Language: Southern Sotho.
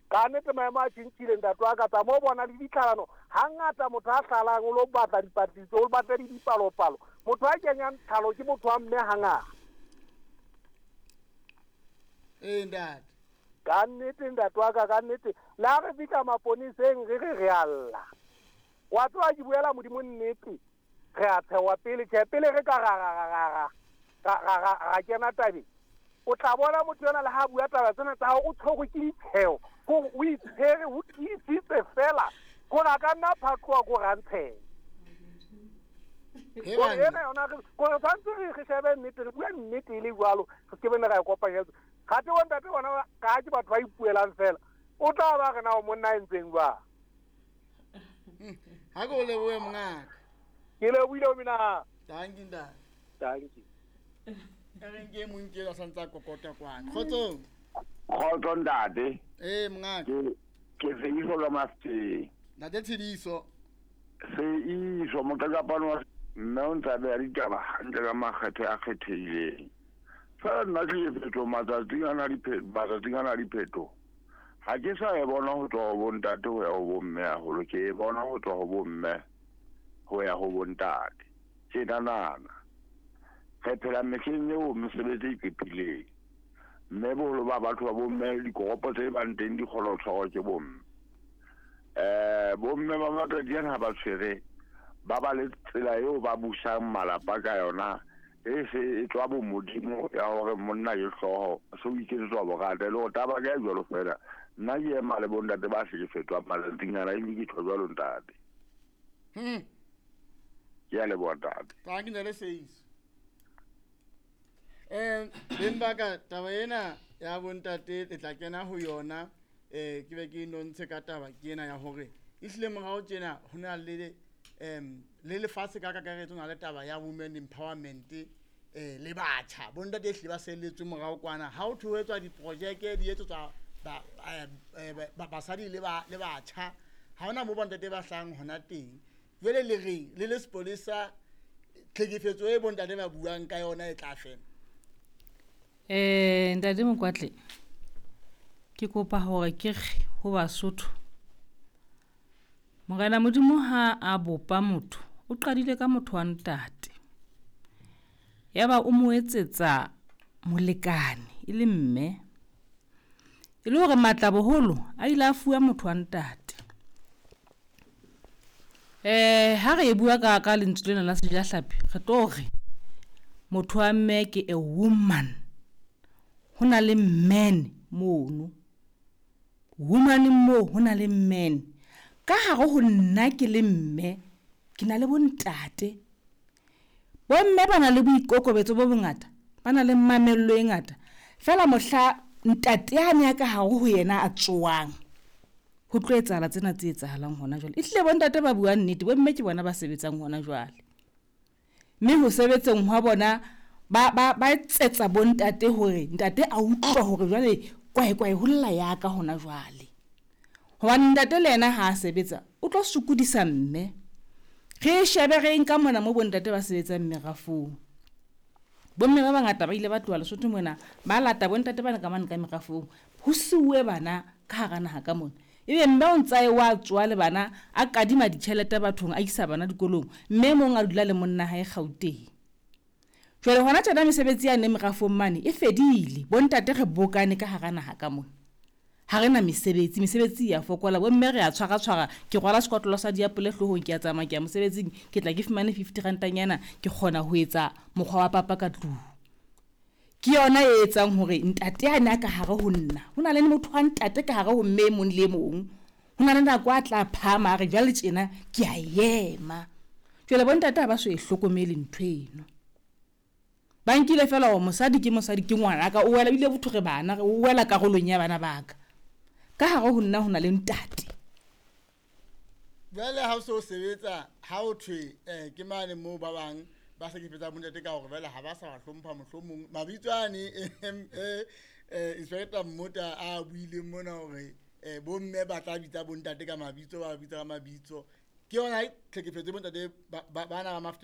Ka nnete maemo a tjhentjhile ntate wa ka, tsamaya o bona le ditlhalano. Hangata motho a hlalang o lo batla dipatlisiso, o batle le dipalopalo. Motho a kenyang tlhalo ke motho wa mme hangata. Ee ntate. Ka nnete ntate wa ka, ka nnete. Le ha re fihla maponeseng re re re a lla. Wa tseba ke buela Modimo nnete. Re a tshewa pele, tjhe pele re ka ra ra ra ra ra ra ra ra kena tabeng. O tla bona motho yona le ha a bua taba tsena tsa hao o tshwerwe ke ditsheo, kore o itshwere o tiisitse fela kore a ka nna phatloha kore a ntshehe. Kore ena yona re kore tshwanetse re re shebe nnete, re bue nnete e le jwalo, re se ke bene ra e kopanyetsa. Kgathe bontate bona ka ha ke batho ba ipuelang fela, o tla ba re na o monna a entseng jwang. Ha ke o lebohe mongaka. Ke lebohile o mina. Thank you ntate. Thank you. E reng ke e mong ke a santse a kokota kwana. Kgotsong. Kgotso ntate. Ee mongaka. Ke Seiso ka Mafikeng. Ntate Tshidiso. Seiso moqakapane wa mme o ntse a beha ditaba hantle ka makgethe a kgethehileng. Fela nna tlhekefetso matsatsing ana matsatsing ana a diphetho ha ke sa e bona ho tswa ho bontate ho ya ho bomme haholo, ke e bona ho tswa ho bomme ho ya ho bontate. Tjenanana re phela mehleng eo mesebetsi e qephileng, mme boholo ba batho ba bomme dikoropo tse bang teng di kgona ho tshwarwa ke bomme. Bomme ba matsatsi ana ha ba tshwere ba ba le tsela eo ba busang malapa ka yona e se e tswa bomodimo ya hore monna ke hlooho, se o iketsetswa borata e le hore taba ka e jwalo fela. Nna ke ema le bontate ba hlekefetswang matsatsing ana, ebile ke tjho jwalo ntate. Ke a leboha ntate. Thank you ntate Seiso. Beng ba ka taba ena ya bontate le tla kena ho yona, ke be ke nontshe ka taba ke ena ya hore ehlile morao tjena ho na le le lefatshe ka kakaretso na le taba ya women empowerment, le batjha bontate ehlile ba selletswe morao kwana. Ha ho thwe ho etswa diprojeke di etsetswa basadi le batjha, ha hona moo bontate ba hlahang hona teng. Jwale le reng le le sepolesa, tlhekefetso e bontate ba buang ka yona e tla fela? Ntate Mokwatle, ke kopa hore ke re ho Basotho, Morena Modimo ha a bopa motho, o qadile ka motho wa ntate. Yaba o mo etsetsa molekane e le mme. E le hore matla boholo a ile a fuwa motho wa ntate. Ha re e bua ka ka lentswe lena la sejahlapi, re tlo re motho wa mme ke a woman. Ho na le man mono. Woman moo ho na le man. Ka hare ho nna ke le mme, ke na le bontate. Bomme ba na le boikokobetso bo bongata, ba na le mamello e ngata. Fela mohla ntate a ne a ka hare ho yena a tsoang, ho tlo etsahala tsena tse etsahalang hona jwale. Ehlile bontate ba bua nnete, bomme ke bona ba sebetsang hona jwale. Mme ho sebetseng hwa bona ba ba ba etsetsa bontate hore ntate a utlwe hore jwale kwae kwae ho lla ya ka hona jwale. Hobane ntate le yena ha a sebetsa o tlo sokodisa mme. Re shebe re nka mona mo bontate ba sebetsang merafong. Bomme ba bangata ba ile ba tloha Lesotho mona, ba lata bontate bana ka mane ka merafong. Ho siuwe bana ka hara naha ka mona. Ebe mme o ntsa e wa tsoa le bana, a kadima ditjhelete bathong, a isa bana dikolong. Mme mong a dula le monna hae Gauteng. Jwale hona tjena mesebetsi yane merafong mane e fedile. Bontate re bokane ka hara naha ka mona. Ha re na mesebetsi, mesebetsi ya fokola. Bomme re a tshwara tshwara, ke rwala sekotlolo sa diapole hloohong, ke a tsamaya ke ya mosebetsing, ke tla ke fumane 50 rantanyana, ke kgona ho etsa mokgwa wa papa ka tlung. Ke yona e etsang hore ntate a ne a ka hare ho nna. Ho na le motho wa ntate ka hare ho mme e mong le e mong. Ho na le nako a tla phahama a re jwale tjena ke a ema. Jwale bontate ha ba so e hlokomele ntho eno. Ba nkile fela hore mosadi ke mosadi ke ngwanaka, o wela ebile botho re bana, o wela karolong ya bana ba ka. Ka hare ho nna ho na le ntate. Jwale ha o se o sebetsa, ha o thwe ke mane moo ba bang ba hlekefetsang bontate ka hore jwale ha ba sa ba hlompha mohlomong. Mabitso ane Inspector Mmota a buileng mona hore bomme ba tla bitsa bontate ka mabitso, ba bitsa ka mabitso. Ke yona tlhekefetso bontate bana ba mafte.